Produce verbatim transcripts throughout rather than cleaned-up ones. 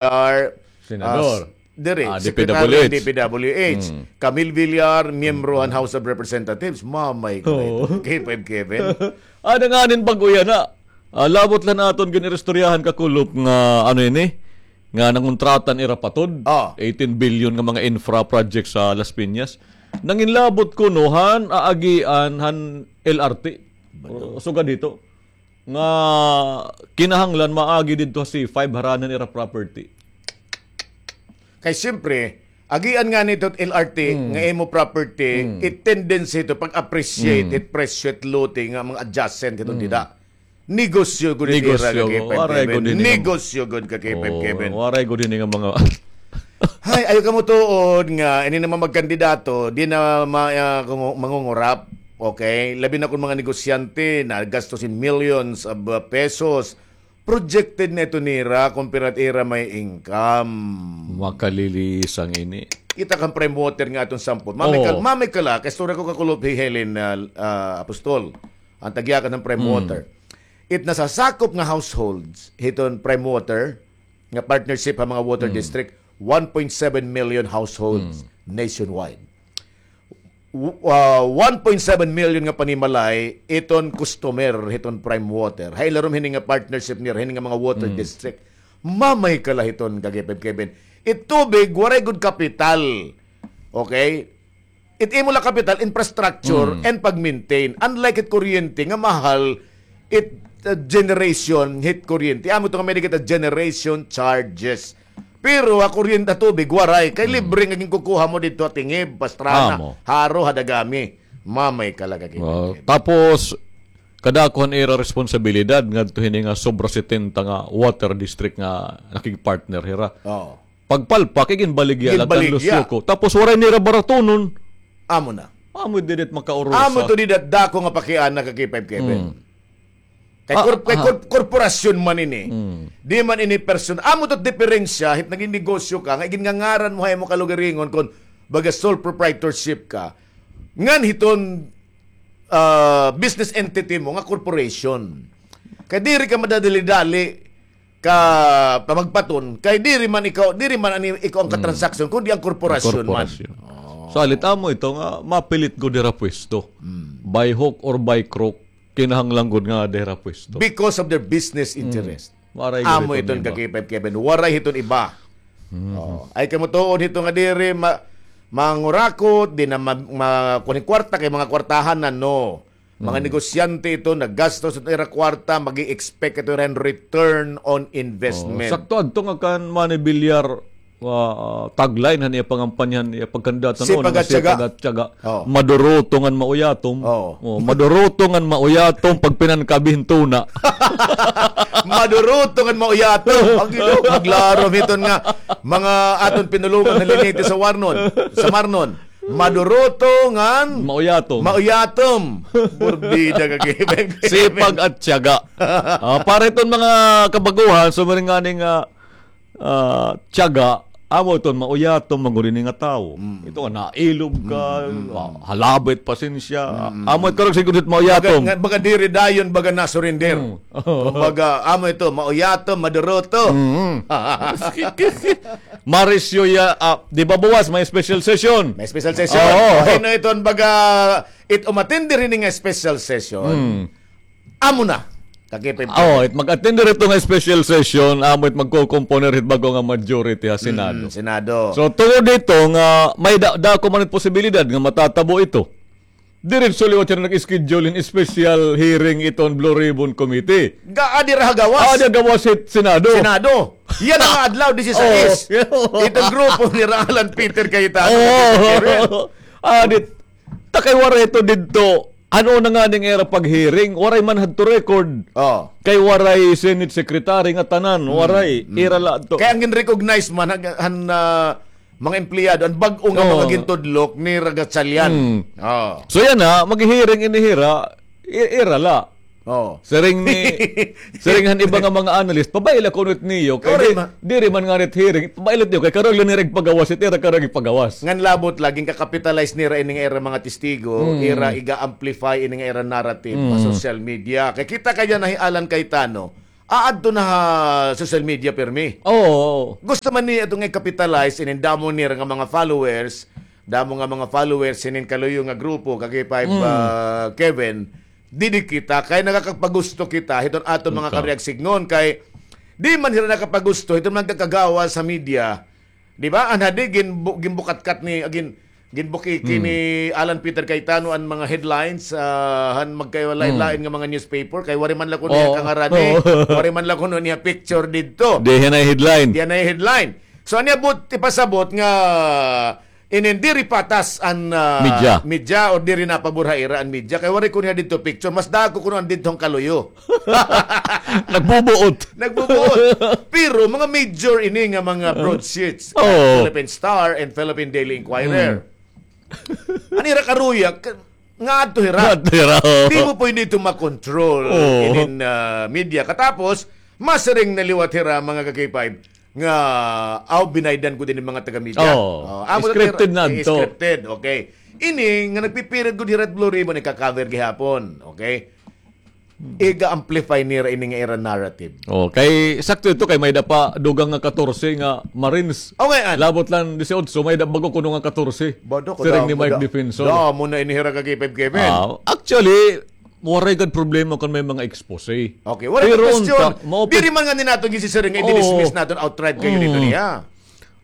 Villar, Senador. Ah, diri, Ah, Secretary D P W H. D P W H. Mm. Camille Villar, miyembro han House of Representatives. Mamay ko na ito. Oo. K five Kevin. Ada nga nin bag-o yana. Ah, labot la han aton gin-iristoryahan kakulop nga, ano ini, nga nangontrata an ira patod. Ah. Eighteen billion nga mga infra projects sa Las Piñas. Nanginlabot kuno han aagian han L R T. Bato. O, sugad hito. Nga kinahanglan maagi didto ha C five harani han ira property. Kay siyempre, agian ngani ito L R T Mm. nga imo property, Mm. it tendency ito pag-appreciate, Mm. it presyo, it lote nga mga adjacent ito Mm. dida. Negosyo gud it ira Negosyo, ka K five waray Kevin. gud ini nga Negosyo gud ka K five Oo, Kevin. waray gud ini nga mga Hay, ayaw kamo tuod nga ini naman magkandidato, di na ma-, ah, kungu-, mangungurap. Okay? Labi na kon mga negosyante na gastos in millions of, uh, pesos. Projected na ito nira, kumpara ira may income. Makaliliis an ini. Kita kan Prime Water nga aton sampot. Mamay Oo. kal-, mamay kala, kay istorya ko kakulop hi Helen, ah, ah, Apostol, an tagyakan han Prime Mm. Water. It nasasakop nga households, hiton Prime Water, nga partnership ha mga water Mm. district, one point seven million households Mm. nationwide. W-, ah, one point seven million nga panimalay iton customer hiton Prime Water. Ha ilarom hini nga partnership nira, hini nga mga water Mm. district. Mamay kala hiton ka K five Kevin. It tubig, waray gud kapital. Okay? It imo la kapital, infrastructure, Mm. and pag-maintain. Unlike hit kuryente nga mahal, it, uh, generation, hit kuryente. Amo ito nga may kita generation charges. Pero ha kuryente, tubig, waray. Kay Mm. libre nga ginkukuha mo didto ha Tingib, Pastrana, Amo. Jaro, ha Dagami. Mamay kala ka K five Kevin. Tapos, kadako han ira responsibilidad ngadto hini nga sobra setenta nga water district nga nakigpartner hira. Oo. Pagpalpak, iginbaligya la kan Ginbaligya. Lucio Co. Tapos waray nira baratunon. Amo na. Amo didit makaurusa. Amo to didit dako nga pakiana ka K five Kevin. Mm. Kay Ah, kor-, kay ah. kor-, korporasyon man ini. Mm. Di man ini person-, amo to diferensya, hit nagin negosyo ka, nga iginngangaran mo ha imo kalugaringon kon baga sole proprietorship ka. Ngan hiton, ah, business entity mo nga corporation. Kay diri ka madadali-dali ka pamagbaton, kay diri man ikaw, diri man ani ikaw an Mm. katransaksyon, kundi an korporasyon man. Korporasyon. Oh. So, alit amo ito nga mapilit gud dira pwesto. Mm. By hook or by crook, kinahanglan gud nga dira pwesto. Because of their business Mm. interest. Waray gud iton iba. Amo iton ka K five Kevin. Waray hiton iba. Mm. Oh. Ay kamo tuod hito nga diri ma-, mangurakot, di na ma-, ma-, kuan hin kwarta kay mga kwartahan na, no. Mga Mm. negosyante ito, naggastos ito ira kwarta, mag-i-expect ito ira hin return on investment. Oh, sakto adto nga kan Manny Villar, ah, tagline han iya pangampanya, han iya pagkandidato noon, Sipag at tiyaga. Sipag at tiyaga. Oh. Maduruto ngan mauyatom. Oh. Oh, maduruto ngan mauyatom, pagpinankabi hin tuna. Maduruto ngan mauyatom. Ang ino, maglarom hiton nga mga aton pinulungan ha Linete sa Warnon, sa Marnon. Maduruto ngan Mauyatom. Mauyatom. Burbida ka, K five Kevin. Sipag at tiyaga. Ah, para iton mga kabaguhan, sumiring ngani nga, ah, tiyaga, amo iton mauyatom, man gud ini nga tawo. Mm. Ito nga, nailob ka, Mm, mm, mm. ah, halabit, pasensya. Mm, mm, Amo mm. ito, siguro, mauyatom. Baga, nga, baga diri dayon, baga na-surrender. Mm. Kumbaga, amo ito, mauyatom, maduruto. Mm. Marisyo ya, ah, di ba buwas may special session? May special session. Oo. Hin-o iton baga it umattend hini nga special session? Mm. Amo na. Kakipipili. Oo, it mag-attend diri hito nga special session, amo it magko-componer hit bag-o nga majority ha Senado. Mm, Senado. So, tungod dito nga may da-, dako man it posibilidad nga matatabo ito. Diretso liwat siya nag-schedule hin special hearing iton Blue Ribbon Committee. Ga-, adi ra ha gawas. Adi ha gawas hit Senado. Senado. Yana nga adlaw, disisais. Oo. Iton grupo ni Alan Peter Cayetano. Oo. Adit, ta kay waray ito didto. Ano na nga ning ira pag-hearing? Waray man hadto record. Oo. Kay waray Senate Secretary nga tanan. Mm, waray. Mm. Ira la adto. Kay an gin-recognize man, han, han, ah, mga empleyado, an bag-o nga Oo. mga gintudlok ni Ragatsalyan. Mm. Oo. So yana, mag-hearing ini hira, i-, ira la. Oo. Siring ni, siring han iba nga mga analyst, pabay la kuno it niyo, kay Correct di-, ma- diri man ngani it hearing, pabay la it niyo, kay karuyag la nira igpagawas, it ira karuyag igpagawas. Ngan labot la, gin-capitalize nira ini nga ira mga testigo, Mm. ira iga-amplify ini nga ira narrative ha Mm. social media. Kay kita kay yana hi Alan Cayetano, aadto na ha social media pirmi. Oo. Gusto man niya ito nga i-capitalize inin damo nira nga mga followers, damo nga mga followers inin kaluyo nga grupo, Kaki Five, ah, Kevin, didi kita, kay nakakagpagusto kita, hiton aton mga karuyag sidngon, kay di man hira nakapagusto, hiton mga kakagawas sa media, di ba? An hadi, ginbu-, ginbukatkat ni, agin, ginbukiki ni Alan Peter Cayetano an mga headlines, ah, han magkalain-lain nga mga newspaper, kay wari man la kuno niya kangarani, wari man la kuno niya picture didto. Di han ay headline. Di han ay headline. So, an iya buot ipasabot nga inin diri patas an, ah, media, media or diri napabor ha ira an media. Kay wari kuno niya didto picture, mas dako kuno an didto han kaluyo. Nagbubuot. Nagbubuot. Pero mga major ini nga mga broadsheets, Philippine Star and Philippine Daily Inquirer. An ira karuyag, ka-, nga adto hira. Nga adto hira, oo. Di mo pwede ito makontrol inin, ah, media. Katapos, masiring na liwat hira, mga ka-K five, nga, aw, binaydan gud ini mga taga-media. Oo. Oh, amo na scripted na adto. Scripted, okay. Ini nga nagpipirit gud hira hit Blue Ribbon, ika-cover gihapon, okay? Iga-amplify nira ini nga ira narrative. Oh, kay sakto ito kay may-ada pa dugang nga katorse nga Marines. Okay, an. Labot la disiotso, may-ada bag-o kuno nga katorse. Siring ni Mike Defensor. Damo na ini hira, Kaki Five Kevin. Ah, actually, waray gad problema kon may mga expose. Okay, waray gad question. Diri man ngani naton gisisiring nga i-dismiss naton outright kayo dito niya.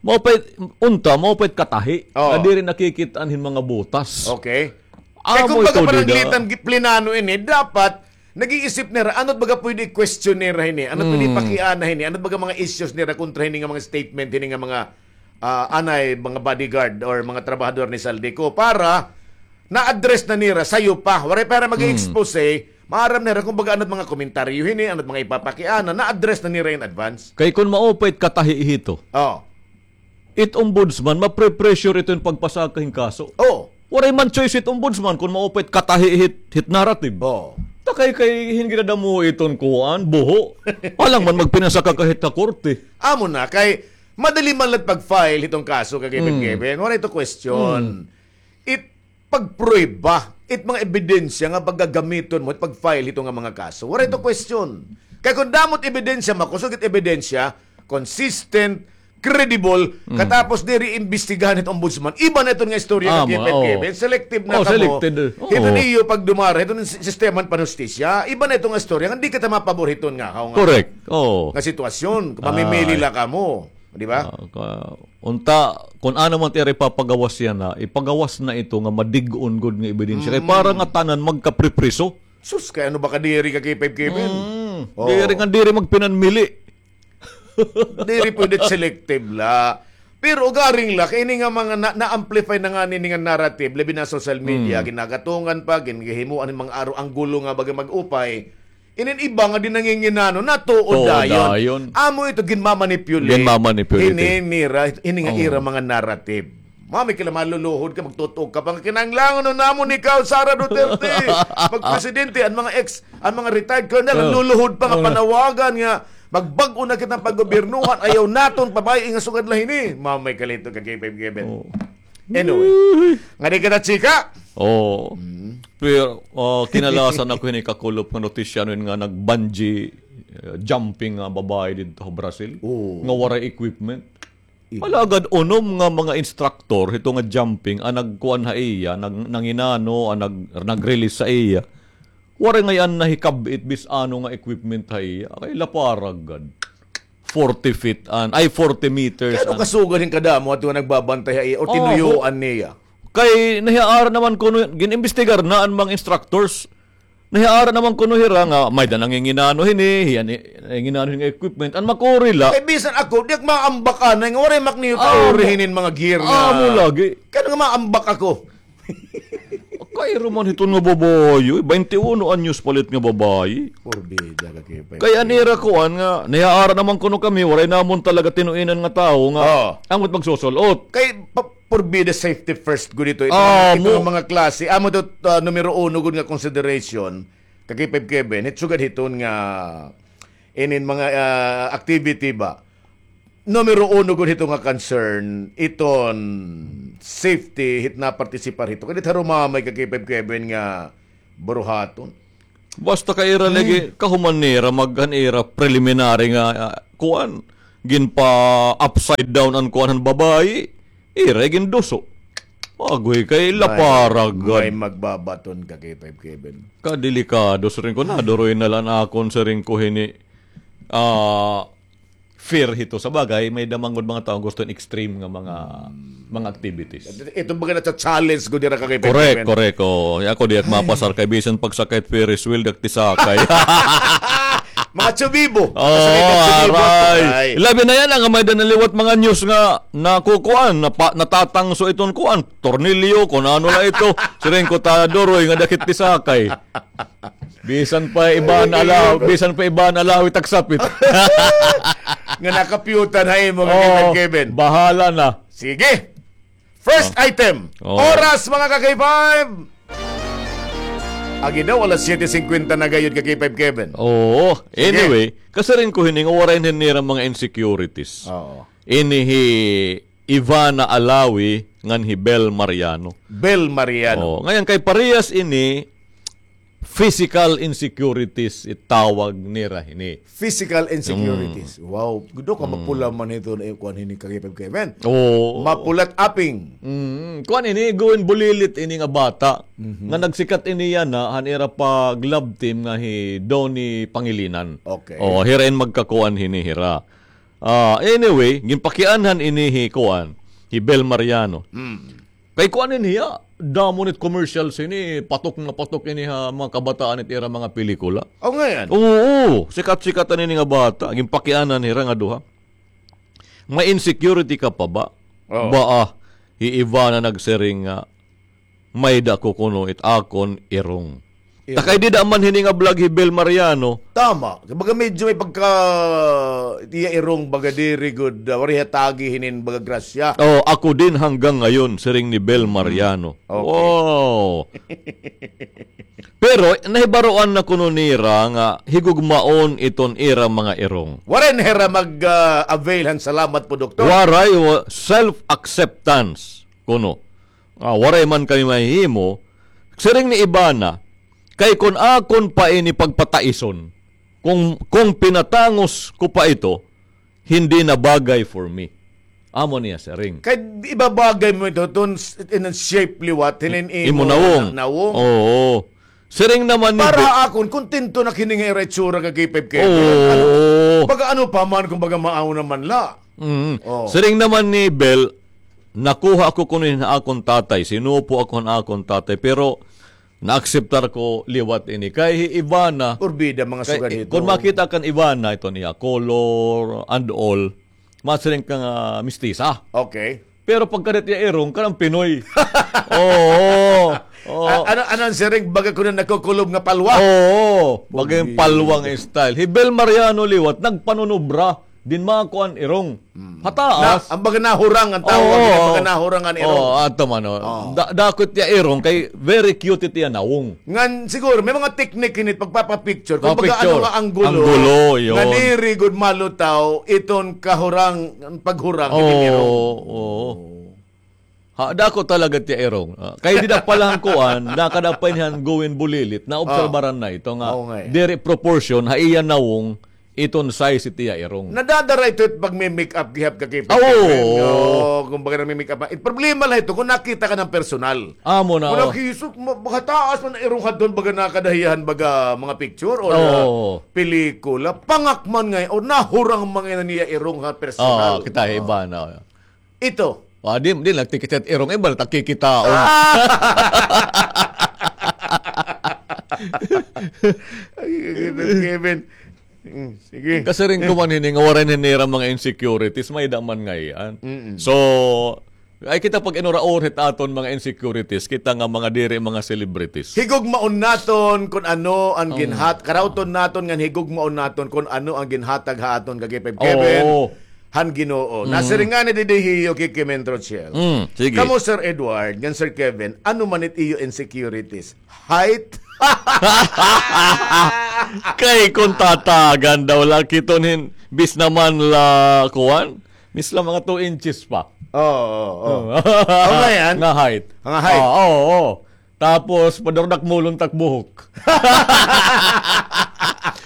Mao pa it, unta, mao pa it katahi nga diri nakikit-an hin mga butas. Okay. Kay kumbaga, pananglitan, plenano ini, dapat nag-iisip nira, ano it baga pwede i-question nira hini, ano it pwede ipakiana hini, ano it baga mga issues nira kontra hini nga mga statement, hini nga mga, ah, anay, mga bodyguard or mga trabahador ni Zaldy Co para na-address na nira, sayo pa. Waray pa hira mag-expose, maaram nira kumbaga ano it mga komentaryo hini, ano it mga ipapakiana, na-address na nira in advance. Kay kon mao pa it katahi hito, oh, it ombudsman, mapre-pressure ito hin pagpasaka hin kaso. Oh. Waray man choice it ombudsman kon mao pa it katahi hit, hit narrative. Oh. Ta kay, kay hin ginadamo iton kuan, buho. Alang man magpinasaka ka hit ha korte. Amo na, kay madali man la it pag-file hiton kaso, Kaki Five Kevin. Waray ito question. It pagprueba, it mga ebidensya nga pagagamiton mo, it pag-file hito nga mga kaso. Waray ito question. Kay kon damo it ebidensya, makusog it ebidensya, consistent, credible, katapos diri imbestigahan hit ombudsman. Iba na iton nga istorya, Kaki Five Kevin. Selective na kamo. Hiton iyo pagdumara hiton si-, sistema han panhustisya. Iba na iton nga istorya nga di kita mapabor hiton nga, haw nga, correct, nga sitwasyon. Mamimili la kamo. Di ba? Ah, ka-, unta, kon ano man it ira ipapagawas yana, ipagawas na ito nga madig-on gud nga ebidensya. Kay para nga tanan magkapripriso. Sus, kay ano ba kadiri, Kaki Five Kevin? Diri nga, diri magpinanmili. Diri pwede selective la. Pero ugaring la, kay ini nga mga na-, na-amplify na ngani ini nga narrative, labi na social media, ginagatungan pa, gin-, ginhimuan hin mga aro anggulo nga baga mag-upay. Inin iba nga di nanginginano, natuod dayon. Amo ito, ginmamanipulate. Ginmamanipulate. Ini nira, ini nga ira mga narrative. Mami, kila maluluhod ka, magtutuog ka pa nga kinahanglangon namon ikaw, Sara Duterte, magpresidente, an mga ex, an mga retired colonel, nagluluhod pa nga panawagan nga magbag-o na kita paggobyernuhan, ayaw naton pabay-i nga sugad la hini. Mamay kalito ka, K five Kevin. Anyway, nga di kita chika. Oo. Pero, ah, kinalasan ako hini kakulop nga notisya ano yun nga nag-bungee, eh, jumping nga babae didto ha Brazil. Oo. Nga waray equipment. Alagad unom nga mga instructor hito nga jumping an nagkuan ha iya, nag-, nanginano, an nag-, nag-release sa iya. Waray ngay-an nahikab-it bisan ano nga equipment ha iya. Kay laparag gad. Forty feet an, ay, forty meters an. Kay ano kasugad hin kadamo ato nga nagbabantay ha iya o tinuyuan niya? Kay nahiaara naman kuno, gin-imbestigar na an mga instructors. Nahiaara naman kuno hira nga may-da nanginginano hini, hiya ni, nanginginano hini nga equipment. An makuri la. Kay bisan ako, di ak maambak anay nga waray mak niyo kauri hinin mga gear nga. Amo lagi. Kay ano nga maambak ako? Kay ruman hiton nga babayi, eh, baynte uno anyos palit nga babayi. Porbida ka, K five. Kay an ira kuan nga, nahiaara naman kuno kami, waray namon talaga tinuinan nga tawo nga, amo it magsusul-ot. Kay pa-, porbida safety first gud ito. Ito nga mga klase. Amo ito, ah, numero uno gud nga consideration. Ka K five Kevin, hit sugad hiton nga inin mga, ah, activity ba? Numero uno gud hito nga concern, iton safety hit napartisipar hito. Kay didto ha Rumamay ka K five Kevin nga buruhaton. Basta kay ira lagi, kahuman nira, mag-, han ira preliminary nga, ah, kuan, ginpa-upside down an kuan han babayi, ira ginduso. Agoy, kay laparag gad. May magbabaton ka kay Five Kevin. Kadelikado, siring ko, naduroy na la an akon, siring ko, hini, ah, fear hito. Sa bagay, may-ada man gud mga tawo gusto hin extreme nga mga, mga activities. Ito baga na-challenge gud dira ka kay Five Kevin. Correct, correct. Oh, ako di ak mapasar kay bisan pagsakay hit Ferris wheel, di ak tisakay. Mga tsubibo. Oh, aray. Labi na yana nga may-ada na liwat mga news nga nakukuan, napa-, natatangso iton kuan, tornilyo, kun ano la ito. Siring ko, ta duroy nga di ak hit tisakay. Bisan pa iba na alaw, bisan pa iba na alaw, itagsapit. Nga nakapyutan ha imo, ka Kevin. Bahala na. Sige. First item. Oras, mga ka-K five. Agi daw, alas siyete singkwenta na gayod, ka K five Kevin. Oo. Sige. Anyway, kasiring ko hini nga waray na nira mga insecurities. Oo. Ini hi Ivana Alawi ngan hi Bel Mariano. Bel Mariano. Oh, ngayon kay parehas ini physical insecurities itawag nira hini. Physical insecurities. Mm. Wow. Gudo ka mapula man ito na kuan hini ka K five Kevin. Oo. Mapulat aping. Mm. Kuan ini, guwin bulilit ini nga bata. Mhm. Nga nagsikat ini yana, han ira pag-love team nga hi Donnie Pangilinan. Okay. Oh, hira in magkakuan hini hira. Ah, anyway, ginpakianhan ini hi kuan, hi Bel Mariano. Mm. Kay kuan ini hiya, damo nit commercial sini, patok nga patok ini ha mga kabataan it ira mga pelikula. Oh, ngayon? Oo, sikat-sikat ini nga bata, ginpakianhan hira nga duha. May insecurity ka pa ba? Oo. Ba, ah, hi Ivana nagsiring nga, may-ada ko kuno it akon irong. Irong. Ta kay dida man hini nga vlog hi Bel Mariano. Tama. Baga medyo may pagka, iya irong baga diri gud, ah, waray hatagi hinin baga grasya. Oh, ako din hanggang ngayon, siring ni Bel Mariano. Okay. Wow. Pero nahibaroan na kuno nira nga higugmaon iton ira mga irong. Waray na hira mag, ah, avail han salamat po, Doktor. Waray, wa-, self-acceptance kuno. Ah, waray man kami mahihimo. Siring ni Ivana, kay kon akon pa ini pagpataison, kung, kung pinatangos ko pa ito, hindi na bagay for me. Amo niya siring. Kay ibabagay mo ito, tun-, in a shape liwat, hinin imo nawong. Nawong. Oo. Siring naman ni Para Be- akon, kontento na kini nga ira itsura ka K five K. Oo. Ano, baga ano pa man, kung baga maaw naman la. Mm. Oo. Siring naman ni Bel, nakuha ako kuno hin akon tatay, sinupo ako hin akon tatay, pero naakseptar ko liwat ini. Kay hi Ivana, Urbida, mga kay, sugad hito. Kung makita kan Ivana, ito niya, color and all, masiring ka nga mistisa. Okay. Pero pagkadit iya irong, kanang Pinoy. Oo. Oo. A-, ano, ano an siring, baga kuno nakukulob nga palwa? Oo. Baga yung palwa nga style. Hi Bel Mariano liwat, nagpanunubra. Din mga kuan irong. Mm. Hataas. Na, ang baga nahurang ang tawag, Oo. Ang baga nahurang ang irong. Oo, ato man, oh. Oo. Da-, dakot iya irong, kay very cute it iya nawong. Ngan siguro, may mga technique ini pagpapapicture. Kung baga Papicture. Ano nga anggulo, Anggulo, yun. Nga diri gud malutaw, iton kahurang, paghurang, Oo, iton irong. Oo. Ha, dako talaga tiya irong. Ah, kay dida pa la han kuan, nakada pa ini han guwin bulilit, naobserbaran na ito nga, Oo nga, eh. Diri proportion, ha iya nawong, iton size it iya irong. Nadadara ito it pagmi-make up gihap ka kay Oo. Pagkakuan, no? Kung baga nagmi-make up. It problema la ito, kung nakita ka ng personal. Amo na, Kung oh. nakisot, ma-, baga taas man ang irong hadton, baga nakada hiya han, baga mga picture or, Oo. uh, pelikula. Pangak man ngay-an, or nahurang man ngay-an niya irong ha personal. Oo, kita, iba na. Ito. Ah, di, di nagtikit-tikit irong iba, nagkikitaon. Ah! Ay, Kevin. Mm, sige. Kasi rin kuman hini nga waray na nira mga insecurities, may daman ngay-an. Mm-mm. So, ay kita pag inuraor hit aton mga insecurities, kita nga mga diri mga celebrities. Higugmaon naton kung ano ang Ang ginhat-, karauton naton ngan higugmaon naton kung ano ang ginhatag ha aton ka K five Kevin. Oo. Han Ginoo. Mm. Nasiring ngani didi hi Yuki Kimen Trochel. Mm, sige. Kamo, Sir Edward, ngan Sir Kevin, ano man it iyo insecurities? Height? Kay kung tatagan daw la kiton hin, bis naman la kuan, bis la mga two inches pa. Oo, oo, oo. Oo. Ang nga yan? Nga height. Ang height. Oo, oo, oo. Tapos, padurdak mulon tak buhok.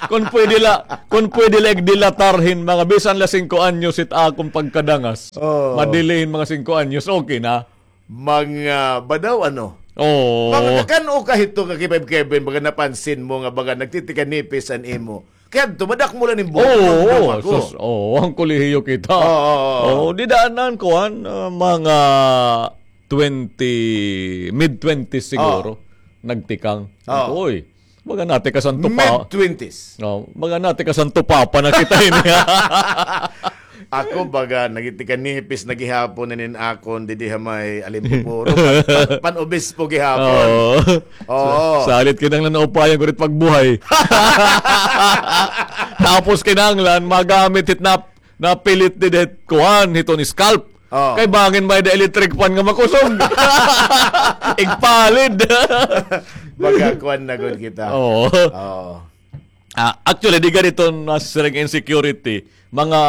Kun pwede la, kun pwede la igdilatar hin mga bisan la singko anyos it akon pagkadangas. Oh. Madili hin mga singko anyos, okay na. Mga badaw, ano? Oo. Mga kakan-o ka hito, Kaki Five Kevin, baga napansin mo nga baga nagtitikanipis an imo. Kay adto, madakmol an imo buhok. Oo, oo, sus, oo, an kolehiyo kita. Oo, oo, oo. Oo, dida an kuan, ah, mga twenty, mid twenties siguro. Oo. Nagtikang. Oo. Uy, baga natikasan tupa. Mid twenties. Oo, baga natikasan tupa pa na kita ini. Ako, baga, nagtitikanipis na gihapon inin akon didi ha may Alimpupuro. Pan, pan, pan-obispo gihapon. Oo. Oo. Sa, salit kinahanglan na upayan ko rit pagbuhay. Tapos kinahanglan magamit hit nap-, napilit didi hit kuan, hiton scalp. Oo. Kay bangin may-ada electric fan nga makusog. Igpalid. Baga kuan na gud kita. Oo. Oo. Ah, actually, di ganito nasiring insecurity. Mga,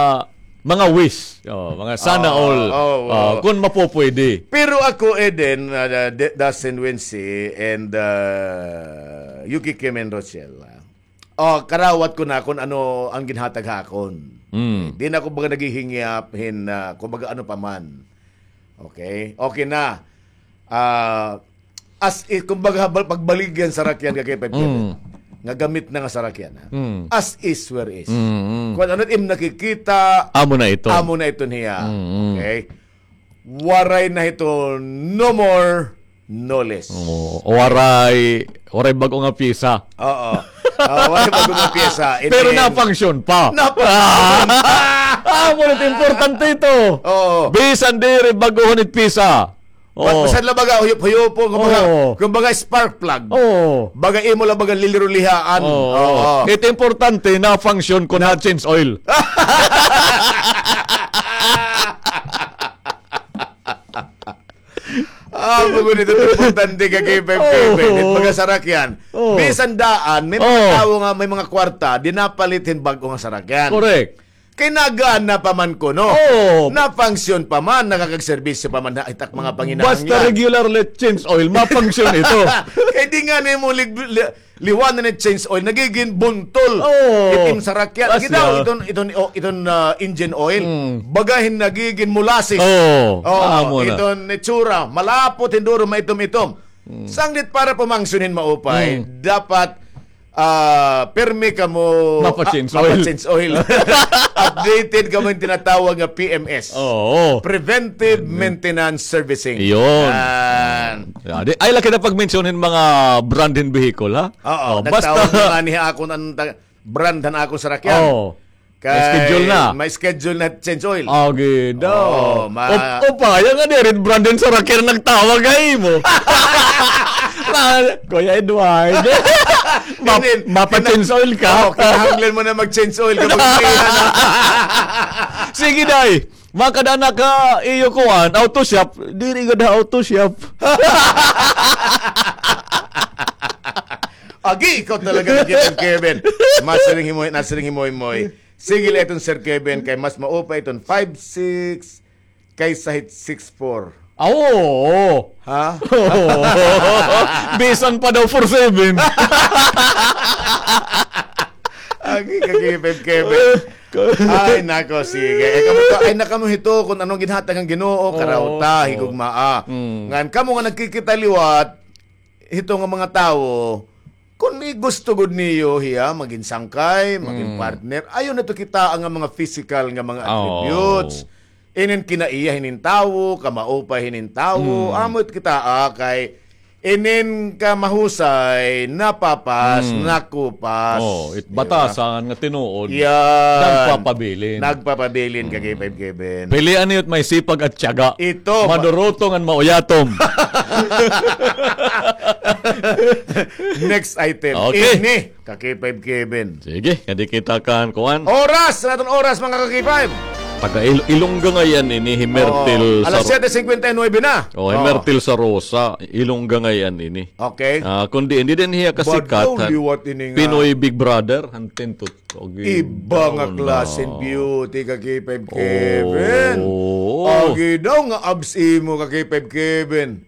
mga wish. Oh, mga sana all. Oh, oh, oh. Kung mapupwede. Pero ako, Eden, uh, D-, Dustin Wincy, and, uh, Yuki Kim and Rochelle, ah. Oh, karawat ko na kung ano ang ginhatag ha akon. Mm. Di na ako baga naghihingyap hin, ah, kumbaga ano pa man. Okay? Okay na. Ah, as i-, kumbaga, bal-, pagbaligyan sarakyan ka kay Pep Kevin. Mm. Nga gamit na nga sarakyan, ha? Mm. As is where is. Mm, mm. Kung ano it im nakikita, amo na ito. Amo na ito niya. Mm, mm. Okay? Waray na ito, no more, no less. Oo. Waray, waray bag-o nga pyesa. Oo. Ah, waray bag-o nga pyesa. Pero na-function pa. Na-function pa. Ah, ngunit importante ito. Oo. Bisan diri bag-o nga pyesa. Oo. Basta la baga huyop-huyopo, kumbaga, oo, kumbaga spark plug. Oo. Baga imo la baga lilirulihaan. Oo. Oo. Ito importante, na-function kun na-change oil. Ah, bago nito, importante ka kay Pep Kevin. Oo. It mga sarakyan. Oo. Bisan daan, may mga tawo nga may mga kwarta, di napalit hin bag-o nga sarakyan. Correct. Kay nagana pa man kuno. Oo. Na-function pa man, nakakagserbisyo pa man ha itak mga panginahanglan. Basta regular la change oil, ma-function ito. Kay di nga nimo lig-, li-, liwanan it change oil, nagigin buntol. Oo. Itim sarakyan. Lagi daw, iton, iton, oh, iton, ah, engine oil. Mm. Baga hin nagigin molasses. Oo. Oo, amo na. Iton itsura, malapot hin duro, maitom-itom. Mm. Sanglit para pumangsyon hin maupay, mm, dapat, ah, pirmi kamo, mapa-change oil. Mapa-change oil. Updated kamo hin tinatawag nga P M S. Oo. Preventive Maintenance Servicing. Iyon. Yan. Ay, laki na pag-mention hin mga brand hin vehicle, ha? Oo, oh, basta nagtawag na nga ni akon an ta-, brand han akon sarakyan. Oo. Kay may schedule na. May schedule na change oil. Agi daw. Oo, ma- Up-, upaya nga diri brand hin sarakyan nagtawag ha imo. Na, Kuya Edward. Ma-, mapa-change oil ka. Oo, kinahanglan mo na mag-change oil kapag. Sige, day. Makada na ka iyo kuan, auto shop, diri gud ha auto shop. Agi, ikaw talaga, Kevin, Kevin. Masiring himoy, nasiring himoy, moy. Sige la iton Sir Kevin, kay mas maupay iton five six kaysa hit six four. Ah, oo. Ha? Oo. Bisan pa daw four seven. Agi ka, Kevin, Kevin. Ay, nako, sige. Eh, kamo to, ay, na kamo hito, kung anong ginhatag ang Ginoo, oo, karaw ta, higugmaa. Mm. Ngan kamo nga nagkikita liwat, hito nga mga tawo, kun gusto gud niyo hiya magin sangkay, magin, mm, partner, ayaw na to kita ang mga physical nga mga, oo, attributes. Inin kinaiya hinin tawo, kamaupay hinin tawo, mm, amo it kita, ah, kay inin kamahusay, napapas, mm, nakupas. Oh, it, di ba? Batasan nga tinuod. Yan. Nagpapabilin. Nagpapabilin, mm, ka K five Kevin. Pilian niyo it may sipag at tiyaga. Ito, ma- Maduruto ngan mauyatom. Next item. Okay. Ini, ka K five Kevin. Sige, kadi kita kan kuan. Oras, naton oras, mga ka K five. Taga Il-, Ilongga ngay-an ini, hi Myrtle. Oo. Alas siyete cincuenta y nueve na. Oh, hi Myrtle Sarosa, Ilongga ngay-an ini. Okay. Ah, kundi hindi din hiya kasikat, badaw liwat ini nga Pinoy Big Brother, han tintut. Iba nga klaseng beauty ka K five Kevin. Oo. Agi daw nga abs imo ka K five Kevin.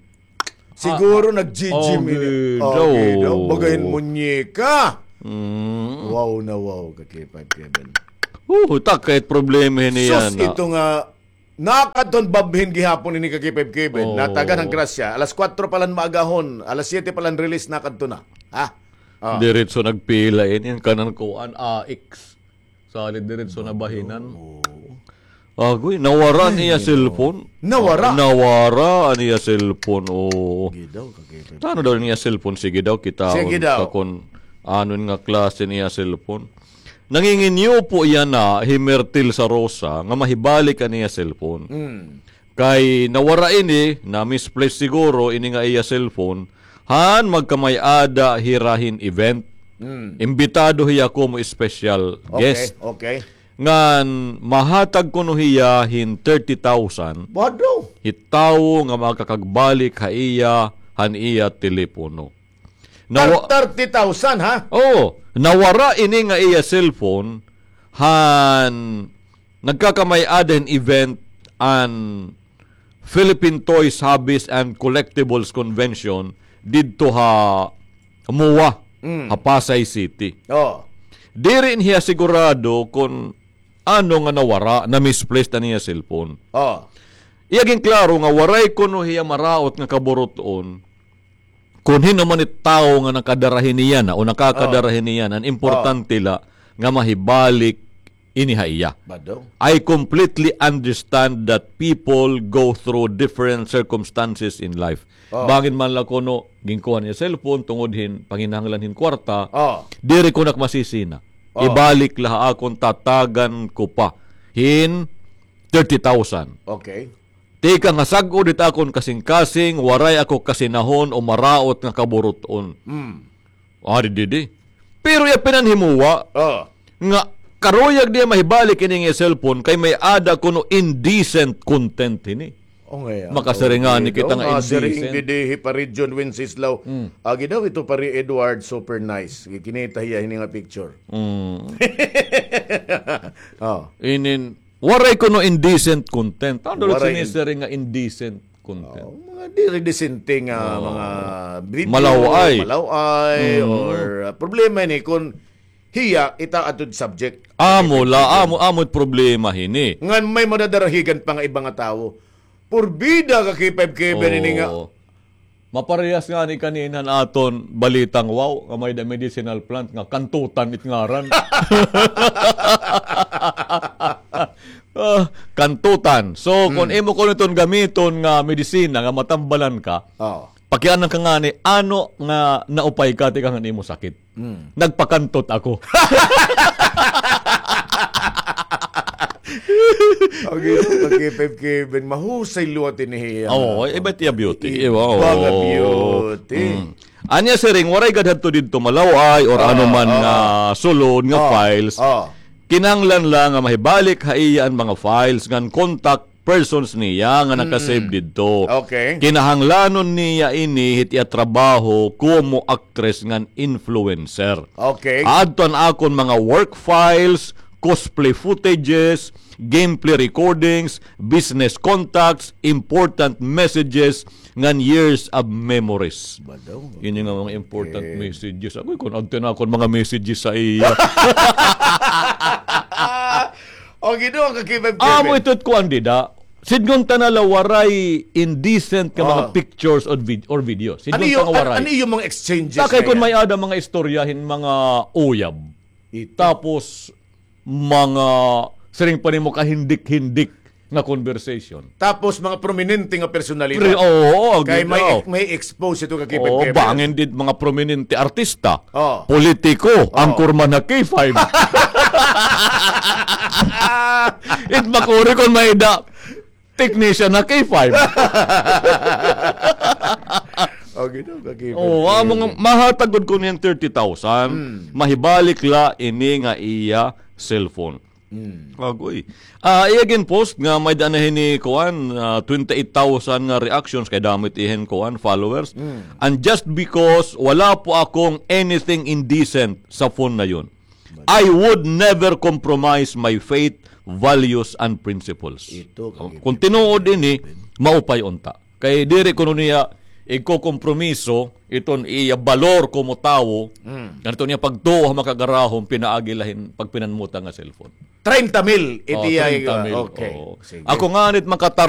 Siguro nag-G G Oh, ini. Gidaw. Oh, gidaw. Bagahin muñeka. Mm. Wow na wow, ka K five Kevin. Oh, takay problema hini yana. Sus, ito nga, nakadton babhin gihapon ini ka K five Kevin. Oh. Natagan han grasya. Alas kwatro pa lang maagahon. Alas siyete pa lang release, nakadto na. Ha? Oh. Diretso nagpila ini. An kanan kuan, A X. Salid diretso na bahinan. Oo. Agoy, nawara an iya cellphone. Nawara? Nawara an iya cellphone, oo. Sige daw, kakita. Ano daw an iya cellphone? Sige daw, kita. Sige daw. Ka kun ano nga klase an iya cellphone. Nanginginyupo yana hi Myrtle Sarosa nga mahibalik an iya cellphone. Mm. Kay nawara ini, na-misplace siguro ini nga iya cellphone, han magkamay-ada hira hin event. Mm. Imbitado hiya komo special guest. Okay, okay. Ngan mahatag kuno hiya hin thirty thousand. Bado. Hi tawo nga makakagbalik ha iya, han iya telepono. Nawa- Thirty thousand, ha? Oo. Nawara ini nga iya cellphone, han nagkakamay-ada hin event an Philippine Toys, Hobbies and Collectibles Convention didto ha MOA, Mm. ha Pasay City. Oh. Diri hiya sigurado kon ano nga nawara, na-misplaced an iya cellphone. Oh. Iya ginklaro nga waray kuno hiya maraot nga kaburut-on, kon hin-o man it tawo nga nakadara hini yana o nakakadara hini yana, an importante la nga mahibalik ini ha iya. Bado. I completely understand that people go through different circumstances in life. Oh. Bangin man la kuno ginkuha niya cellphone tungod hin panginahanglan hin kwarta, oh, diri ko na masisina. Oh. Ibalik la ha akon, tatagan ko pa hin thirty thousand. Okay. Tikang ha sag-od hit akon kasingkasing, waray ako kasinahon o maraot nga kaburut-on. Mm. Adi didi. Pero iya pinanhimuwa, oh, nga karuyag niya mahibalik ini nga cellphone kay may-ada kuno indecent content hini. Oh, ngay-an. Makasiring ngani kita nga indecent. Siring didi hi Pare John Wenceslao. Mm. Agi daw ito, Pare Edward, super nice. Gikinita hiya hini nga picture. Mm. Oh. Inin, Waray kuno indecent content. Ano daw sinisiring nga indecent content? Oh, mga diri disente nga mga video, malaw-ay, malaw-ay, mm, or, uh, problema ini kun hiya ita atud subject. Amo la, amo, amo it problema hini. Ngan may madadarahigan pa nga iba nga tawo. Purbida ka K five Kevin ini nga. Oo. Maparehas ngani kanina han aton balitang wow, nga may-ada medicinal plant nga kantutan it ngaran. Ah, kantutan. So, kon imo kuno iton gamiton nga medisina nga matambalan ka, pakianan ka ngani, ano nga naupay ka tikang han imo sakit? Mm. Nagpakantot ako. Okay, okay, Kevin, mahusay liwat ini hiya. Oo, iba it iya beauty. Iba nga beauty. Mm. Anya siring, waray gad hadto didto malaw-ay or ano man nga sulod nga files. Kinahanglan la nga mahibalik ha iya an mga files ngan contact persons niya nga naka-save didto. Okay. Kinahanglanon niya ini hit iya trabaho komo actress ngan influencer. Okay. Aadto an akon mga work files, cosplay footages, gameplay recordings, business contacts, important messages, ngan years of memories. Badaw. Ini nga mga important messages. Agoy, kon adto na akon mga messages sa iya. O, Ginoo, ka K five Kevin. Amo ito it kuan dida. Sidngon ta na la waray indecent nga mga pictures or vid-, or videos. Sidngon ta nga waray. Ano yung mga exchanges na yan? Kay kon may-ada mga istorya hin mga uyab. Tapos, mga siring pa nimo kahindik-hindik nga conversation. Tapos mga prominente nga personalidad. Pre-, oo, oo, kay may, may expose ito ka K five Kevin. Bangin did mga prominente artista, politiko, anchorman ha K five. It makuri kon may-ada technician ha K five. Okay daw, ka K five. Oo, amo nga mahatag gud ko niyan thirty thousand, mahibalik la ini nga iya cellphone. Mm. Agoy. Ah, iya gin-post nga may-ada na hini kuan, ah, twenty-eight thousand nga reactions kay damo it iya hin kuan, followers. Mm. And just because wala po akong anything indecent sa phone na yun, I would never compromise my faith, values, and principles. Ito, kon tinuod ini, maupay unta. Kay diri kuno niya igkokompromiso iton iya balor komo tawo, ngan iton iya pagtuo ha makagarahom pinaagi la hin pagpinanmuta nga cellphone. Treinta mil iti iya, treinta mil, okay. Ako ngani it makatara